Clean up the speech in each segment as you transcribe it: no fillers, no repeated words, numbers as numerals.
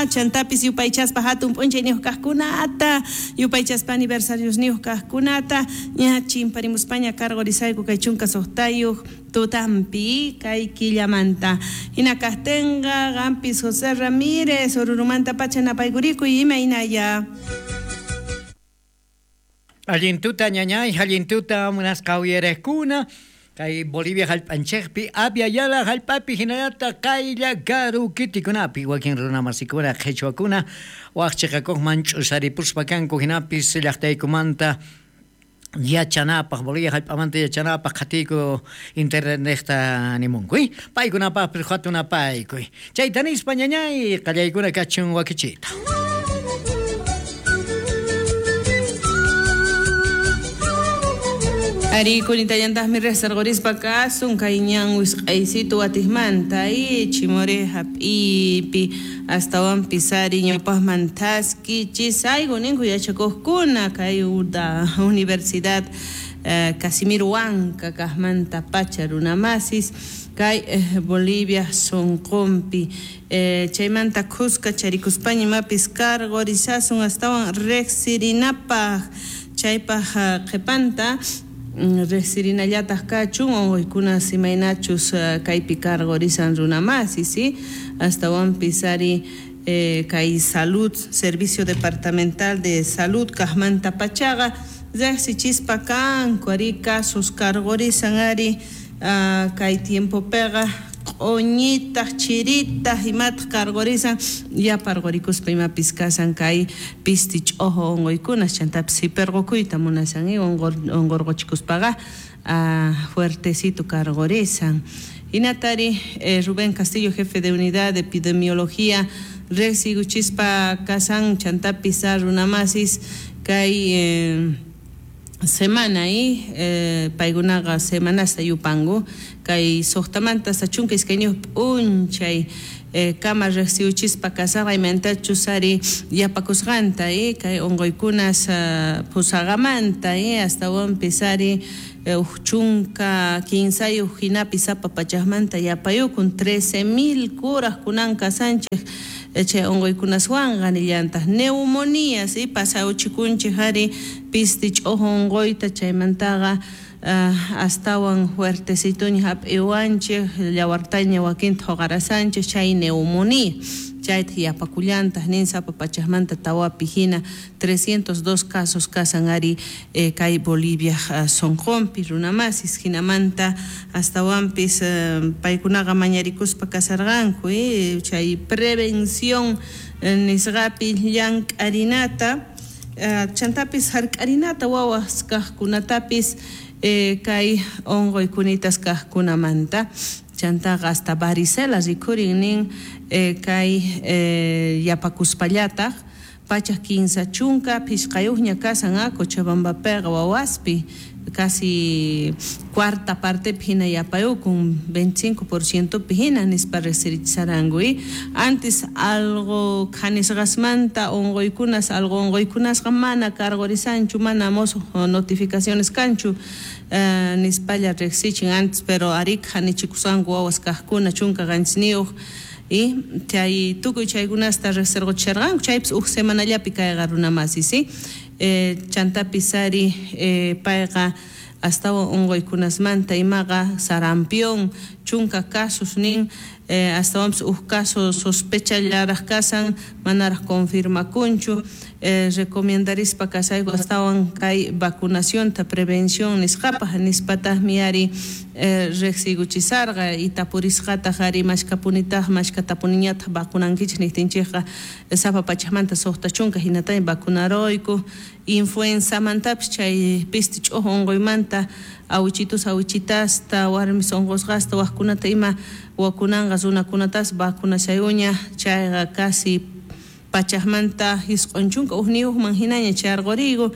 Chantapis yupaychaspa hatun p'unchayniyuq kaqkunata, yupaychaspa aniversariosniyuq kaqkunata, ña chimparimuspaña karqurisayku kay 16 tutampi kay killamanta. Hina kaqtinqa qampis José Ramírez Orurumanta pacha napaykurikuy imaynaya. Allin tuta ñañay, allin tuta munasqa uyariqkuna, kay Bolivia hallp'anchikpi, Abya Yala hallp'api hinallataq qaylla karu kitikunapi wakin runamasikuna qhichwakuna wak chiqakuqman ch'usaripuspa kanku hinapis llaqtaykumanta yachanapaq, Bolivia hallp'amanta yachanapaq qhatiyku internetniqta nimunku, paykunapaqpis hatunapaykuy. Chayta nispa ñañay qallaykuna kachun wakichiyta. Ari kunitallantaqmi riqsirqurispa kasun kay ñan wisq'aysitu watijmanta y chimore hap'ipi astawanpis ari ñawpaqman thaskichisayku ninku yachakuqkuna kay Universidad Casimiro Huanca kaqmanta pacha runamasis kay Bolivia sunqunpi chaymanta khuska charikuspaña imapis karqurisasun astawan riqsirinapaq chaypaq qhipanta riqsirinallataq kachun unquykunas imaynachus kaypi karqurisan runamasis, ¿sí? Astawanpis ari kay salud, servicio departamental de salud kaqmanta pachaqa riqsichispa kanku ari casos karqurisan ari kay tiempopiqa q'uñitaq chiritaq imataq karqurisan yaparqurikuspa imapis kasan kay pisti ch'ojo unquykunas chantapis sipirqukuyta munasan unqurquchikuspaqa fuertecito karqurisan. Hinatari Rubén Castillo, jefe de unidad de epidemiología, riqsikuchispa kasan chantapis runamasis kay semana y paykunaqa semanasta yupanku kay suqtamanta 12 p'unchay kama riqsiwchispa kasaqqa imaynatachus ari yapakusqanta kay unquykunas pusaqamanta astawanpis ari uj 13 hinapi sapa pachaqmanta yapayukun 13,000 kuraq kunan kasanchik chay unquykunaswanqa nillantaq neumonía ¿sí? Pasawchikunchik ari pisti ch'uju unquyta chaymantaqa astawan fuertecituña hap'iwanchik llawartaña wakinta huqarasanchik chay neumonía chayta yapakullantaq nin sapa pachaqmanta tawapi hina 302 casos kasan ari kay Bolivia sunqunpi runamasis hinamanta astawanpis paykunaqa mañarikuspa kasarqanku chay prevención nisqapi llank'arinata chantapis hark'arinata wawas kaqkunatapis kay unquykunitas kaqkunamanta chantaqa hasta varicela rikhurin nin kay yapakuspallataq 135 kasan Cochabambapiqa wawaspi casi cuarta partepi hina yapayukun 25% pi hina nispa riqsirichisaranku antes algo khanisqasmanta unquykunas algo unquykunasqa mana karqurisanchu mana mosuq notificaciones kanchu nispalla riqsichin antes pero ari khanichikusqanku wawas kaqkuna 17 y chay tukuy chaykunasta riqsirquchisharqanku chaypis uj semanallapi kayqa runamasis, ¿sí? Chantapis ari payqa astawan unquykunasmanta imaqa sarampión 10 casos nin astawanpis uj caso sospechallaraq kasan manaraq confirmakunchu recomendarispa kasayku astawan kay vacunacionta prevención nisqapaq nispataqmi ari riqsiykuchisarqa y tapurisqataq ari mashkapunitaq mashkatapuniñataq vacunankichik niqtinchikqa sapa pachaqmanta 60 hinataña vacunaruyku influenzamantapis chay pisti ch'uju unquymanta awichitus awichitasta warmis unqusqasta waqkunata ima wakunanqa runakunatas vacunashayuña chayqa casi pachaqmanta 91man hinaña chayarquriyku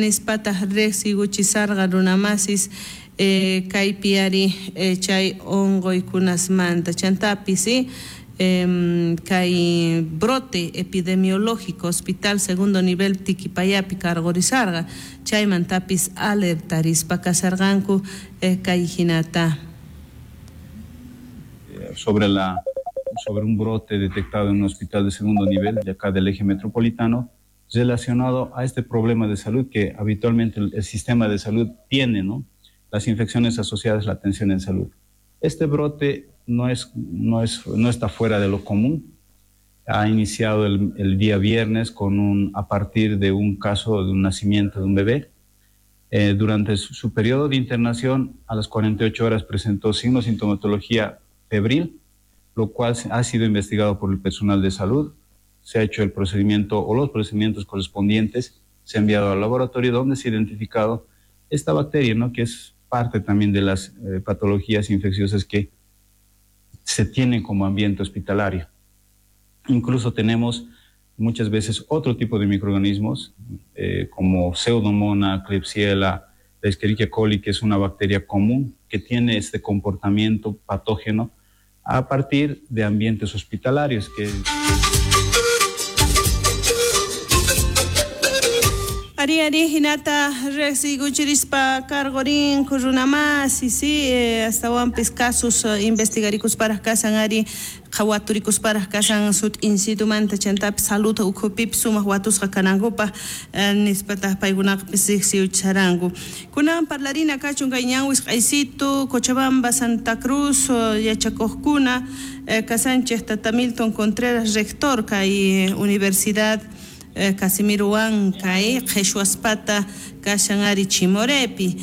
nispataq riqsiykuchisarqa runamasis kaypi ari chay unquykunasmanta chantapis kay brote epidemiológico hospital segundo nivel Tiquipayapi karqurisarqa chaymantapis alertarispa kasarqanku kay hinata sobre la sobre un brote detectado en un hospital de segundo nivel de acá del eje metropolitano relacionado a este problema de salud que habitualmente el sistema de salud tiene, ¿no? Las infecciones asociadas a la atención en salud. Este brote no está fuera de lo común. Ha iniciado el día viernes a partir de un caso de un nacimiento de un bebé. Durante su periodo de internación, a las 48 horas presentó signos de sintomatología febril, lo cual ha sido investigado por el personal de salud. Se ha hecho el procedimiento o los procedimientos correspondientes, se ha enviado al laboratorio donde se ha identificado esta bacteria, ¿no? Que es parte también de las patologías infecciosas que se tienen como ambiente hospitalario. Incluso tenemos muchas veces otro tipo de microorganismos, como Pseudomonas, Klebsiella, la Escherichia coli, que es una bacteria común que tiene este comportamiento patógeno a partir de ambientes hospitalarios. Que... Ari ari hinata rexiguchirispa cargorin kurunamasi si hasta wampis casos investigarikus para kasan ari qhawaturicus para kasan sut insitumanta chantapis salud ukhupipis sumaq watusqa kanankupaq nispataq paykunaqpis riqsiucharanku. Kunan parlarina kachun kay ñanwis q'aysitu Cochabamba Santa Cruz yachakuqkuna kasanchej tata Milton Contreras rector kay Universidad Casimiro Huanca, qheshwaspata kashan ari Chimorepi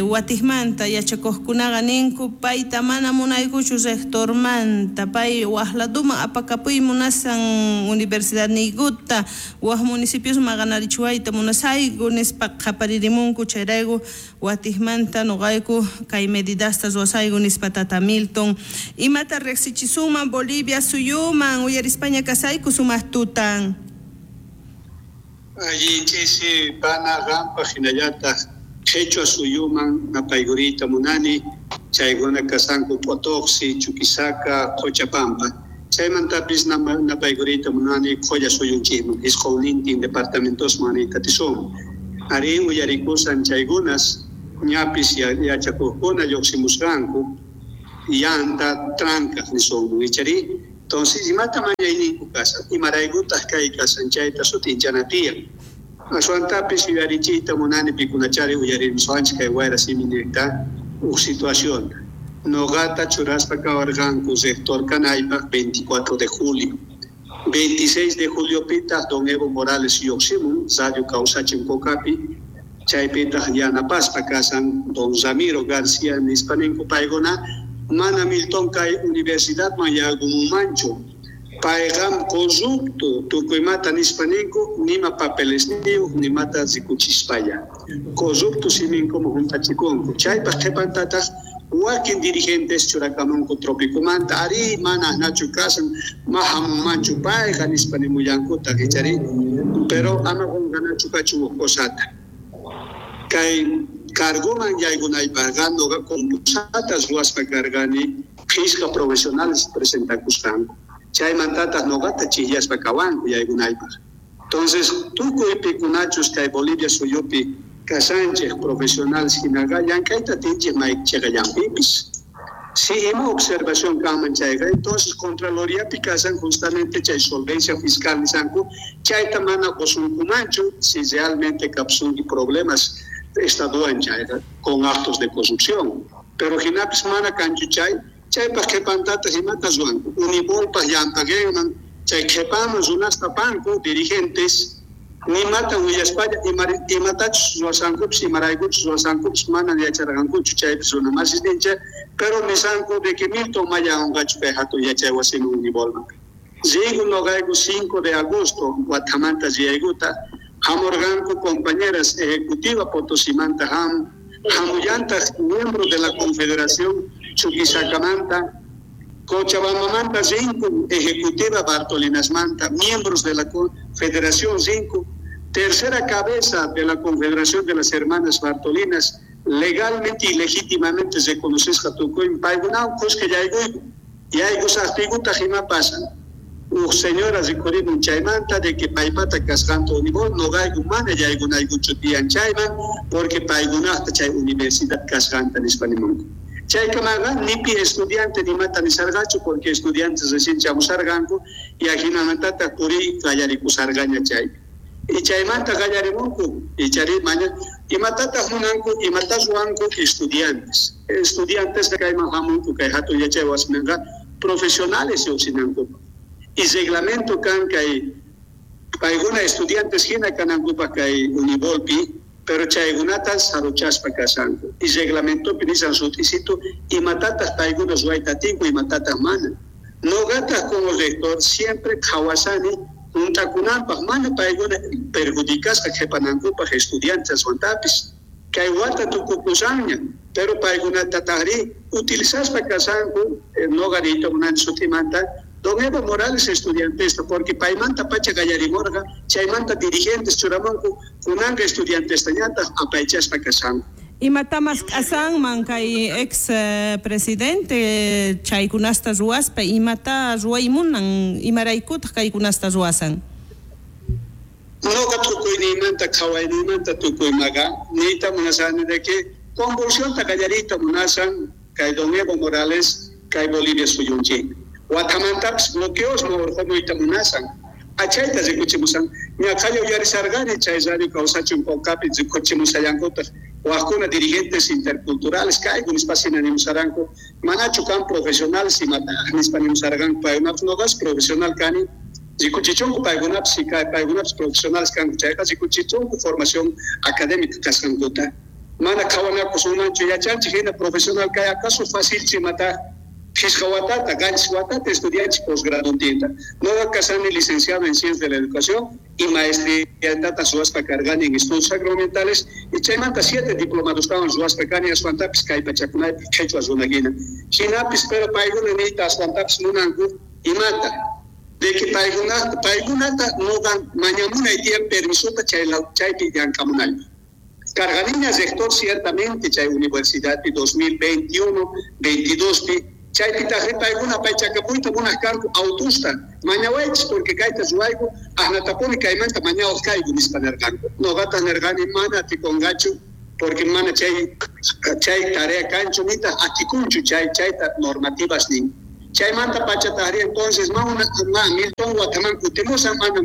watijmanta yachakuqkunaqa ninku payta mana munaykuchu rectormanta pay waqladuman apakapuy munasan universidad niykuta waq municipios maqanarichiwayta munasayku nispa qaparirimunku chayrayku watijmanta nuqayku kay medidasta ruwasayku nispa tata Milton imata riqsichisuman Bolivia suyuman uyarispaña kasayku sumaq tutan. Allí chisi pana rampa hinallataq qhichwa suyuman napayguriyta munani chaykuna kasanku Potoxi, Chuquisaca, Cochabamba. Chaymantapis napayguriyta munani Qholla suyunchikman isqunnintin departamentosman atisun. Arí uyarikusan chaykunas ñapis yachakuqkuna lluqsimusqanku llanta trancas nisunman ichari. Entonces, imata mañayninku kasan, imaraykutaq kay kasan chayta sutinchana tiyan. Aswantapis yuyarichiyta munani pikunachari uyarimusqanchik kay wayra simi niqta uj situación. Noqata churaspa kawarqanku rector kanaypaq 24 de julio. 26 de julio pitaq don Evo Morales lluqsimun Radio Kawsachin Cocapi, chaypitaq yanapaspa kasan don Ramiro García nispa ninku paykuna mana Milton kay universidad man yaykumunmanchu payqam corrupto tukuymata nispa ninku nima papeles niyuq nimata rikuchispalla corrupto siminkuman juntachikunku chaypaq qhipantataq wakin dirigentes churakamunku tropicomanta ari mana nachu kasan mahamunmanchu payqa nispa nimullankutaq ichari pero ama qunqanachu kachun uj cosata kay carguman yaykunaypaqqa nuqa concursatas ruwaspa karqani qhishqa profesionales presentakusqanku chaymantataq nuqata chijllaspa kawanku yaykunaypaq. Entonces tukuy pikunachus kay Bolivia suyupi kasanchej profesionales hinaqa llank'ayta atinchej maychiqallanpipis. Si ima observación kanman chayqa entonces Contraloriapi kasan justamente chay solvencia fiscal nisanku chayta mana qusunkumanchu si realmente kapsunki problemas estaduan chayqa con actos de corrupción. Pero hinapis mana kanchu chay chaypaq qhipantataq imata ruwanku univolpaq llampaqinman chay qhipaman runasta panku dirigentes nimata willaspalla imatachus ruwasankupis imaraykuchus ruwasankupis mana yacharqankuchu chaypis runa masisninchik pero nisanku de que Milton maya unqachu kay hatun yachay wasiman univolman. Rigu noqayku 5 de agosto Guatamanta riyaykuta hamurqanku compañeras ejecutiva Potosimanta hamullantaq miembro de la Confederación Chuquisacamanta, Cochabambamanta rinku ejecutiva Bartolinasmanta, miembros de la Federación rinku, tercera cabeza de la Confederación de las Hermanas Bartolinas, legalmente y legítimamente reconocesqa tukuymi paykunawan kuska yaykuyku yaykusaqtiykutaq ima pasan uj señora rikurimun chaymanta de que paypata kasqanta univol noqayku mana yaykunaykuchu tiyan chayman porque paykunaqta chay universidad kasqanta nispa nimunku. Chaykamaqa nipi estudiante nimata nisarqachu porque estudiantes recién chamusarqanku y ajinamantataq puriy qallarikusarqaña chaypi. Y chaymanta qallarimunku ichari maña imatataq munanku imata ruwanku estudiantes. Estudiantes kayman hamunku kay hatun yachay wasimanqa profesionales lluqsinankupaq. Y reglamento kan kay paykuna estudiantes hina kanankupaq kay Univolpi, pero chaykunata saruchaspa kashanku. Y reglamentopi nisan sut'isitu imatataq paykuna ruwayta atinku imatataq mana. Noqataq como rector siempre qhawasani juntakunanpaq mana paykuna perjudicasqa qhipanankupaq estudiantes aswantapis. Kay wata tukukusanña, pero paykunatataqri utilizaspa kashanku noqa niyta munani sutimanta Don Evo Morales estudiantesta, porque paymanta pacha qallarimurqa, chaymanta dirigentes churamunku kunanqa estudiantestañataq apaychaspa kashanku. Imatamas k'asanman kay ex presidente chaykunasta ruwaspa, imata ruwaymunan, imaraykutaq kaykunasta ruwasan? Noqa tukuyniymanta qhawayniymanta tukuymaqa niyta munasani de que convulsionta qallariyta munasan kay Don Evo Morales kay Bolivia suyunchik. Watamantapis bloqueos urqumuyta munasan. Achayta rikuchimusan. Ñaqhalla uyarisarqani chay radio kawsachun Pawkapi rikuchimusallankutaq wajkuna dirigentes interculturales kayku nispa hina nimusaranku. Manachu kan profesionales imataq nispa nimusarqanku paykunapis noqas profesional kani rikuchichunku paykunapis paykunapis profesionales kanku chayqa rikuchichunku formación académica kasqankuta. Mana qhawanakusunmanchu yachanchik hina profesional kay acaso facilchu imataq Phisqa watata, qanchis watata estudianchik posgraduntinta. Noqa kasani licenciado en Ciencias de la Educación y maestría ruwaspa karqani en Estudios Sacramentales y chaymanta 7 diplomadostawan ruwaspa kani aswantapis kay pachakunaypi qhichwa runa hina. Hinapis pero paykuna niyta aswantapis munanku imata de que paykunata noqa mañamunay tiyan permisota chaypi llank'amunaypaq. Karqaniña rector ciertamente chay universidadpi 2021, 22pi chaypitaqri paykuna paychakapuyta munaq kanku autusta mañawaychis porque kayta ruwayku asnatapuni kaymanta mañawaq kayku nispa nirqanku. Noqataq nirqani mana atikunqachu porque mana chay tarea kanchu nitaq atikunchu chayta normativas nin. Chaymanta pachataqri entonces ma Milton wataman kutimusan mana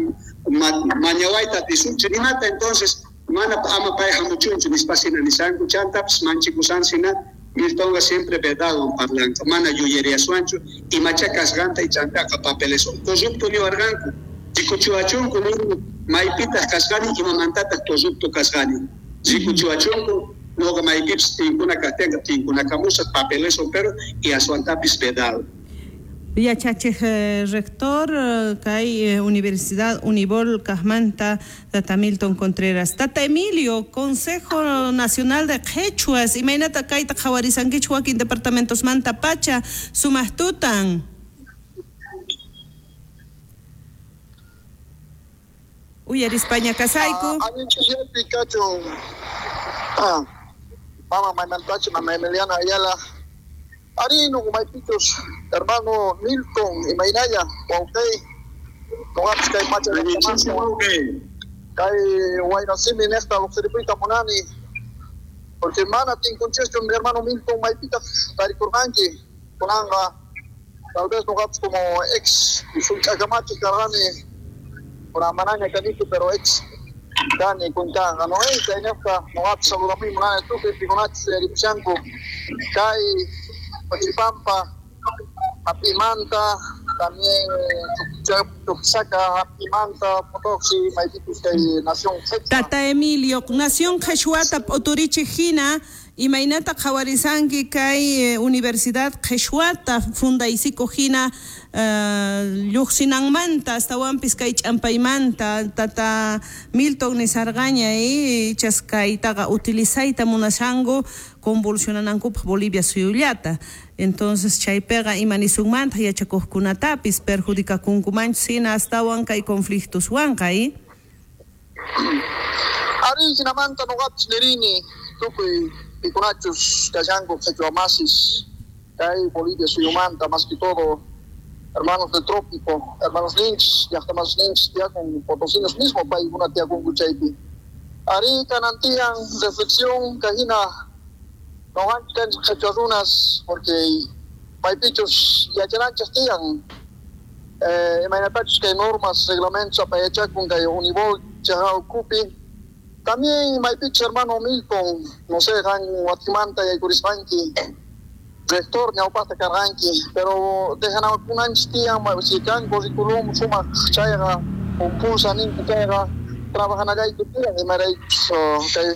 mañawayta atisunchu nimata entonces mana ama pay hamuchunchu nispa hina nisanku chantapis manchikusansina Miltonqa siempre verdadwan parlanqa mana yuyariaswanchu imacha kasqanta y chantaqa papeles corrupto niwarqanku rikuchiwachunku nini maypitaq kasqani imamantataq corrupto kasqani rikuchiwachunku noqa maypipis tinkuna kaqtinqa tinkunakamusaq papeleswan pero y aswantapis verdad. Yachachej rector kay Universidad Unibol Kajmanta Tata Milton Contreras. Tata Emilio, Consejo Nacional de Qhichwas, imaynata kayta qhawarisankichik wakin departamentosmanta pacha sumaq tutan. Uyarispaña kasayku. Allinchikpi kachun. Mama maymantachi mama Emiliana Ayala. Arino, maypichus, hermano Milton, imaynalla, wawqey, noqapis kay pacha kay waynasimi niqta lluqsiripuyta munani, porque mana tinkunchischu mi hermano Milton maypitaq tarikurqanki, kunanqa tal vez noqapis como ex sullk'akamachiq karqani, kunan manaña kanichu pero ex kani kuntanqa, no chayniyuqta noqapis saludamuy munani tukuy pikunachus uyaripushanku kay Cochipampa, Apimanta, también Chuquisaca, Apimanta, Potosí, maypichus kay Nación Qhechua. Tata Emilio, Nación Qhechwata p'uturichik hina, imaynata qhawarisanki kay Universidad Qhechwata fundaysikuq hina lluqsinanmanta astawanpis kay ch'ampaymanta Tata Milton nisarqaña ichas kaytaqa utilizayta munashanku convulsionanankupaq Bolivia suyullata. Entonces chaypiqa imanisunmanta yachakuqkunatapis perjudicakunkumanchu hina astawan kay conflictoswanqa Ari hinamanta noqapis nirini tukuy pikunachus kashanku qhichwa masis kay Bolivia suyumanta más que todo hermanos del trópico, hermanos ninchis, llaqtamas ninchis tiyakun potosinos mismo paykuna tiyakunku chaypi. Ari kanantiyan reflexión kahina Noqanchik qhichwa runas porque maypichus yachananchik tiyan imaynatachus kay normas reglamentos apayachakun kay Unibol chaqa ukupi. También maypichus hermano Milton, no sé, qan watimanta yaykurisqanki rector ñawpaqta karqanki, pero dejanakunanchik tiyan si kan curriculum sumaq chayqa pulsa ninku chayqa trabajanallayku tiyan imaraykus kay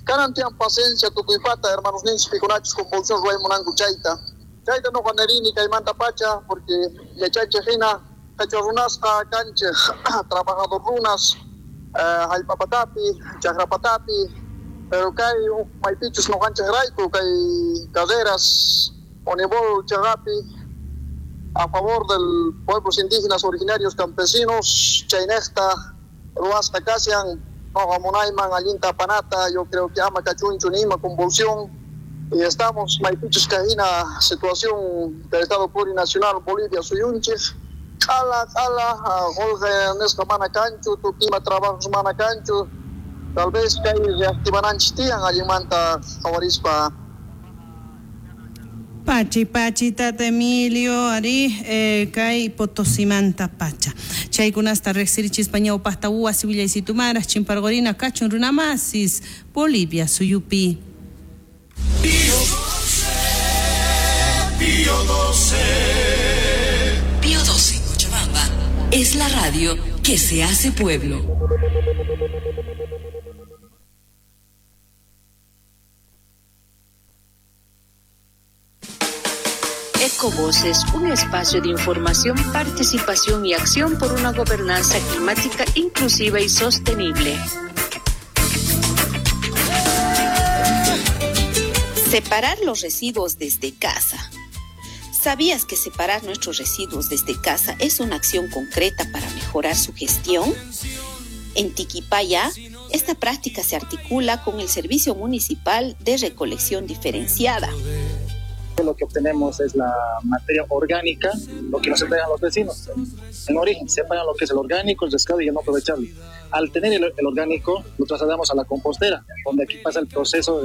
kanan tiyan paciencia tukuypata hermanos ninchik pikunachus convulsión ruwaymunanku chayta. Chayta noqa nerini kaymanta pacha porque yachanchik hina qhichwa runasqa kanchik trabajador runas hallp'apatapi chakrapatapi, pero kay maypichus noqanchikrayku kay carreras Unibol chaqapi a favor del pueblos indígenas originarios campesinos chaynejta ruwasqa kashan noqa munayman allinta apanata. Yo creo que ama kachunchu nima convulsión y estamos maypichus kay hina situación del Estado plurinacional Bolivia suyunchik q'ala q'ala qullqi nisqa mana kanchu, tukima trabajos mana kanchu, tal vez kay reactivananchik tiyan allinmanta qhawarispa. Pachi, pachi, tata Emilio, ari, kay Potosimanta pacha. Chaykunasta riqsirichispa ñawpaqta wasi willaysitumara chimparqurina kachun runamasis Bolivia suyupi. Pío 12, Pío 12. Pío 12 Cochabamba es la radio que se hace pueblo. Ecovoces, un espacio de información, participación y acción por una gobernanza climática inclusiva y sostenible. Separar los residuos desde casa. ¿Sabías que separar nuestros residuos desde casa es una acción concreta para mejorar su gestión? En Tiquipaya, esta práctica se articula con el Servicio Municipal de Recolección Diferenciada. Lo que obtenemos es la materia orgánica, lo que nos entregan los vecinos. En origen, separan lo que es el orgánico, el descaro y el no aprovechable. Al tener el orgánico, lo trasladamos a la compostera, donde aquí pasa el proceso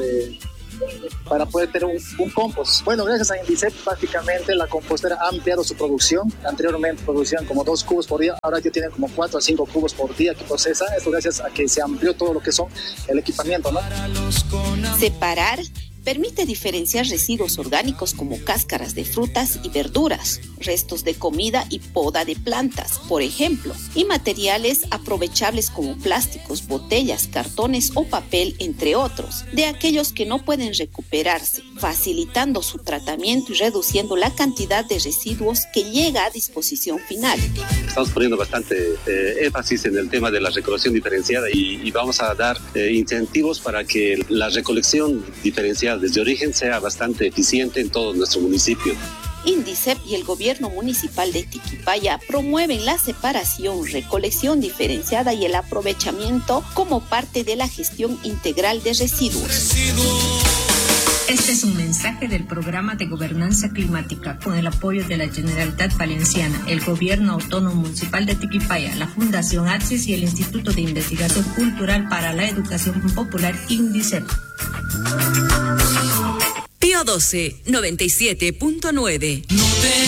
para poder tener un compost. Bueno, gracias a Indicep, prácticamente la compostera ha ampliado su producción. Anteriormente producían como 2 cubos por día, ahora ya tienen como 4 a 5 cubos por día que procesa. Esto gracias a que se amplió todo lo que son el equipamiento, ¿no? Separar permite diferenciar residuos orgánicos como cáscaras de frutas y verduras, restos de comida y poda de plantas, por ejemplo, y materiales aprovechables como plásticos, botellas, cartones o papel, entre otros, de aquellos que no pueden recuperarse, facilitando su tratamiento y reduciendo la cantidad de residuos que llega a disposición final. Estamos poniendo bastante énfasis en el tema de la recolección diferenciada y vamos a dar incentivos para que la recolección diferenciada desde origen sea bastante eficiente en todo nuestro municipio. Indicep y el gobierno municipal de Tiquipaya promueven la separación, recolección diferenciada y el aprovechamiento como parte de la gestión integral de residuos. Este es un mensaje del Programa de Gobernanza Climática con el apoyo de la Generalitat Valenciana, el Gobierno Autónomo Municipal de Tiquipaya, la Fundación Axis y el Instituto de Investigación Cultural para la Educación Popular, INDICEP. Pío 12, 97.9. No te